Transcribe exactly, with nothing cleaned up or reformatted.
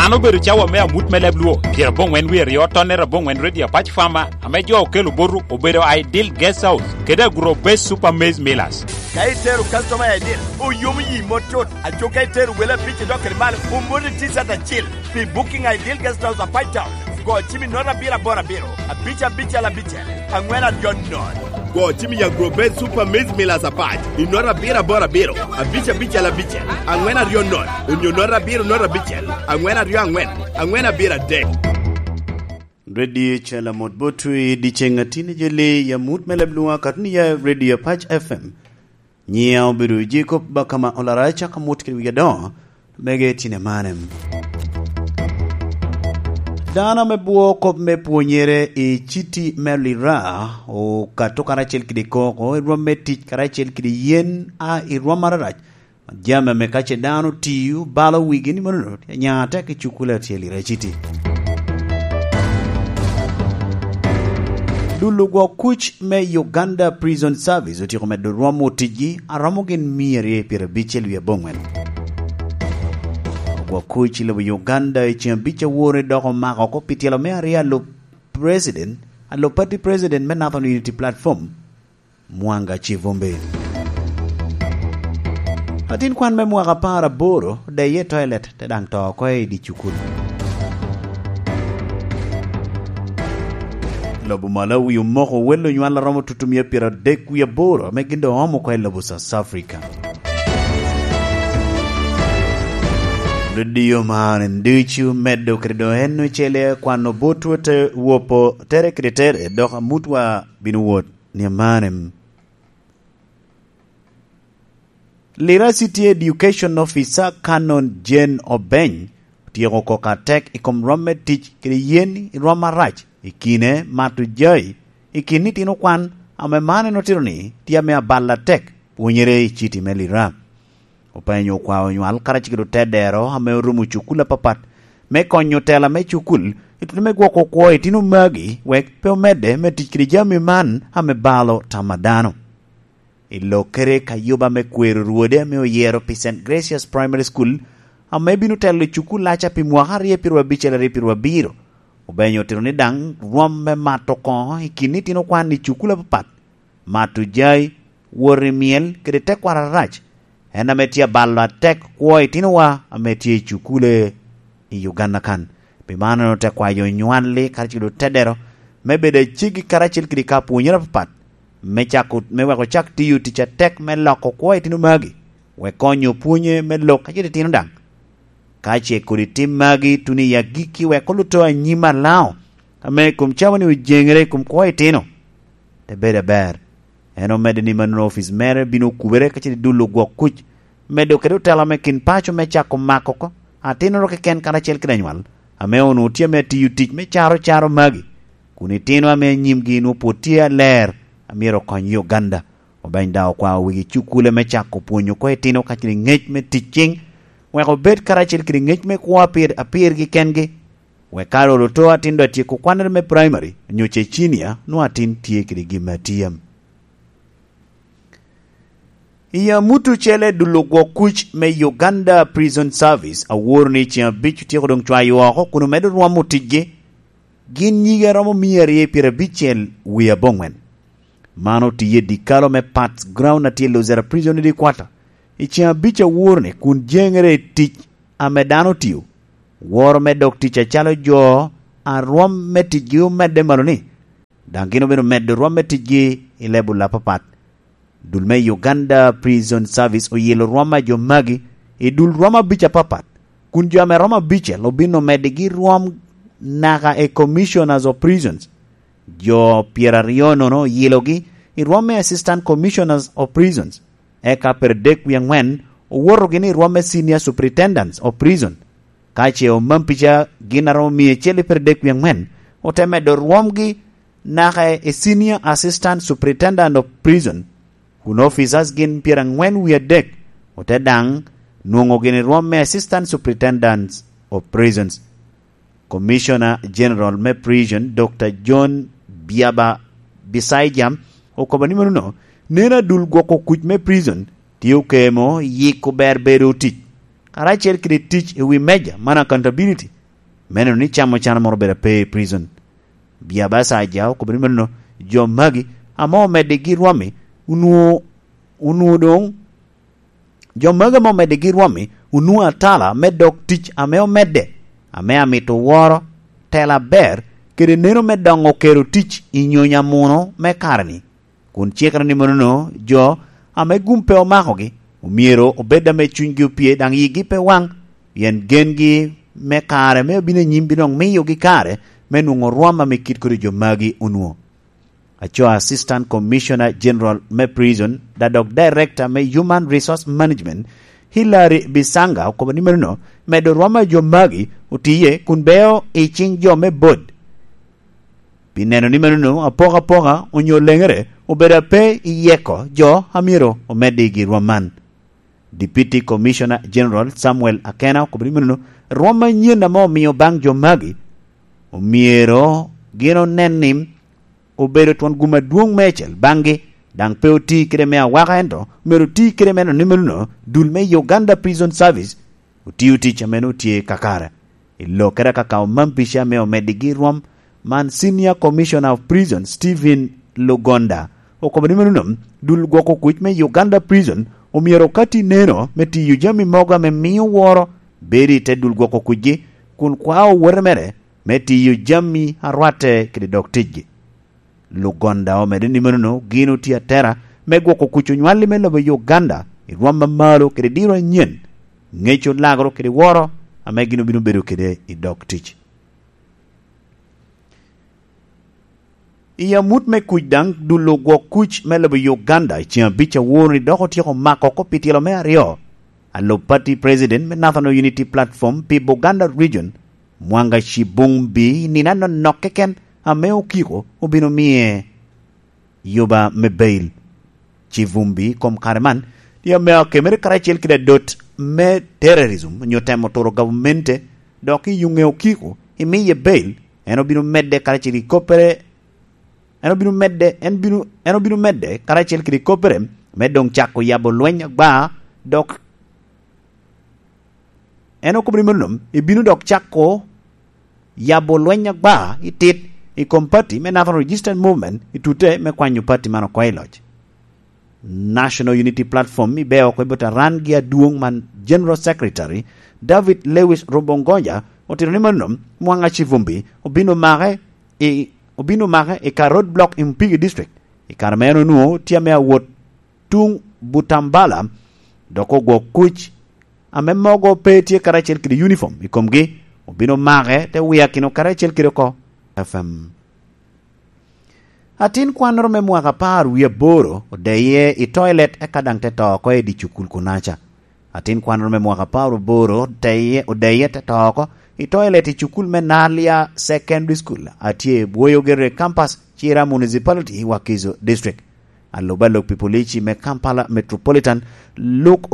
An obedo cawa me amut me leb Luo, pyeraboŋwen wie aryo tonnere aboŋwen Radio Apac Farmer, ame jo okelo botu obedo Ideal Guest House kede Agro Base Super Maize Millers. Ka itero customer i Ideal, oyomo yi mot tut. Aco ka itero wele abic idok kede malo, omoti T-shirt acil. Pi booking Ideal Guest House Apac Town, go cim i nota abiro aboro abiro, abic abicel abicel, aŋwen aryo nono. Go cim i Agro Base Super Maize Millers Apac i nota abiro aboro abiro, abic abicel abicel, aŋwen aryo nono, onyo nota abiro nota abicel, aŋwen aryo aŋwen, aŋwen abiro adek. Radio Calamot Botwi, dyeceŋ a tine jeli, ya mut me leb Luo, katuni ya Radio Apac F M. Nyiŋa obedo Jacob Bakama Olara, caka mot kede wigi adoŋo, mege tine mane. Dano ame bwo kop me pwonyere i citi me Lira, okato karacel kede koko, i rwom me tic karacel kede yen, a i rwom ararac. Jami ame ka ce dano tio, balo wigi ni mano, nya tek i cukule acel i Raciti. Dul ogwok kuc me Uganda Prison Service otyeko medo rwomo ticgi, aromo gin mia aryo pyerabicel wie aboŋwen. Ogwok kuc i lobo Uganda i ceng abic awore dok omako oko pi tyelo me aryo a lub president, a lub party president me Northern Unity Platform, Mwanga Kivumbi. Atin kwan me mwaka apar aboro deye i toilet, te daŋ to oko i dye cukul. Lobo Malawi omoko wel onywal a romo tutumia pyeradek wie aboro, ame gin doŋ oomo oko i lobo South Africa. Redio man ducu medo kede doŋ en ocele kwano botwu te wopo tere kede tere, dok amutwa bino wot ni amane. Lira City Education Officer Canon Jane Obeny otyeko koko atek i kom rwom me tic kede yen i rwom arac i kine mato jai i kin itino kwan, ame man en otito ni tye ame abalo atek pwonyere i citi me Lira. Openyo okwao onywal karacel kede otedero ame orumo cukul apapat me konyo tela me cukul i tuno me gwoko kwo itino magi wek pe omedde me tic kede jami man ame balo tam a dano. I lokkere ka yuba me kwero rwode ame oyero pi Saint Gracious Primary School, ame bino telo i cukullaca pi mwaka aryo pyerabicel aryo pyerabiro, Obeny otito ni daŋ rwom me mato koŋo i kin itino kwan i cukul apapat, mato jai, wot i myel, kede tekwaro arac, en ame tye abalo atek kwo itinowa ame tye i cukule i Uganda kan. Pi man en ote kwayo onywalli karacel kede otedero me bedo aceggi karacel kede ka pwonyere apapat, me cako, me wek ocak tiyo tic atek me loko kwo itino magi, wek konyo pwonye me lok kacel itino daŋ. Ka ce kodi tim magi tuno i agikki wek oluto anyim alaŋo, ame i kom cawa-ni ojeŋere i kom kwo itino, te bedo aber. En omedde ni mannono opic mere bino okubere kacel i dul ogwok kuc, medo kede otela me kin paco me cako mako oko atinoro keken karacel kede anywal, ame onwoŋo tye ame tiyo tic me caro caro magi, kun itino ame anyimgi nwoŋo pwod tye aler, a myero okony Uganda. Obeny daŋ okwao wegi cukule me cako pwonyo oko itino kacel i ŋec me tic ciŋ, wek obed karacel kede ŋec me kwo apir, apirgi kengi, wek ka olo to atin doŋ atyeko kwannere me praimari, onyo ce cinia, nwoŋo atin tye kede gin me atyem. I amut ocele dul ogwok kuc me Uganda Prison Service aworo ni ceŋ abic otyeko doŋ cwayo oko kun omedo rwomo ticgi, gin nyige romo mia aryo pyerabicel wie aboŋwen. Man otiye i dikalo me Pats Ground a tye i Luzira Prison Headquarter i ceŋ abic aworo ni kun jeŋere i tic ame dano otio, woro me dok tic acalo jo a rwom me ticgi omedde malo ni, daŋ gin obino medo rwom me ticgi i lebul apapat. Dul me Uganda Prison Service oyilo rwom a jo magi i dul rwom abic apapat, kun jo ame romo abicel obino medigi rwom naka i Commissioners of Prisons. Jo pyeraryo nono oyilogi i rwom me Assistant Commissioners of Prisons, eka pyerdek wie aŋwen owotogi ni rwom me Senior Superintendents of Prison. Ka ce omam pica gin a romo mia acel i pyerdek wie aŋwen, ote medo rwomgi naka i Senior Assistant Superintendent of Prison, kun officers gin pyeraŋwen wie adek, ote daŋ nwoŋo gin i rwom me Assistant Superintendents of Prisons. Commissioner General me Prison, Doctor John Byaba Bisaijan, okobo ni mano no, neno adul gwoko kuc me prison tye okemo yiko ber bedo tic. karacel kede tic i wi meja, man accountability, me neno ni camo can moro obedo ape i prison. Bia Basaja okobo ni meno jo magi ame omeddigi rwami onwoŋo, onwoŋo doŋ, jo magi ame omeddigi rwami onwoŋo atala me dok tic ame omedde, ame amito woro tela aber kede neno me doŋo kero tic i nyonyo amuno me kare-ni. Kun cikere ni monono jo ame gum pe omakogi, omyero obed ame cunygi opye daŋ yigi pe waŋ, pien gengi me kare me abino anyim bino miyogi kare me nwoŋo rwam ame kit kodi jo magi onwoŋo. Aco Assistant Commissioner General me Prison, da dok Director me Human Resource Management, Hilary Bisanga, okobo ni meno medo rwam a jo magi otiye kun beo i cing jo me bod. Pi neno ni meno apokapoka onyo leŋere obedo ape i yeko jo a myero omedde i gin rwom man. Deputy Commissioner General Samuel Akena okobo ni meno rwom anyen ame omio baŋ jo magi omyero gin onen ni obedo twon gum adwoŋ meicel baŋgi, daŋ pe oti kede me awaka, ento myero oti kede me neno ni meno dul me Uganda Prison Service otio tic ame nwoŋo tye kakare. I lokere akaka Omampica ame omeddigi rwom man, Senior Commissioner of Prison Stephen Lugonda okobo ni meno dul gwoko kuc me Uganda Prison omyero okati neno me tiyo jami mogo ame mio woro bedo i te dul gwoko kucgi, kun kwao owote mere me tiyo jami a rwatte kede dog ticgi. Lugonda omedde ni meno gin otye atera me gwoko kuc onywalli me lobo Uganda i rwom amalo kede diro anyen, ŋeco lagoro kede woro ame gin obino bedo kede i dog tic. I amut me kuc daŋ, dul ogwok kuc me lobo Uganda i ceng abic awor-ni dok otyeko mako oko pi tyelo me aryo. Alub pati president me National Unity Platform pi Buganda Region, Mwanga Kibumbi, i nino anonok keken ame okiko obino miye yuba me bail. Kibumbi i kom kare man tye ame akemere karacel kede adot me terrorism onyo temo turo gavmente, dok i yuŋe okiko imiye bail, en obino medde karacel i koppere, en obino medde, en bino, en obino medde karacel kede koppere me doŋ cako yabo lweny agba, dok en okobo ni meno, ibino dok cako yabo lweny agba i tit i kom pati me National Resistance Movement i tute me kwanyo pati man oko i loc. National Unity Platform ibe oko i bot aran-gi adwoŋ man General Secretary David Lewis Rubongoja otito ni mano Mwanga Kivumbi obino make i, obino make i ka road block i Mpigi District i kare ma en onwoŋo tye ame awot tuŋ Butambala, dok ogwok kuc ame mogo pe tye karacel kede uniform i komgi, obino make te wiakino karacel kede oko. F M. Atin kwannoro me mwaka apar wie aboro odeye i toilet eka daŋ te to oko i dye cukul kunaca. Atin kwannoro me mwaka apar aboro odeye, odeye te to oko i toilet i cukul me Nalia Secondary School a tye i Bwoyo Gerre Campus, Kira Municipality, Wakiso District. Alub alub pi polici me Kampala Metropolitan, Luke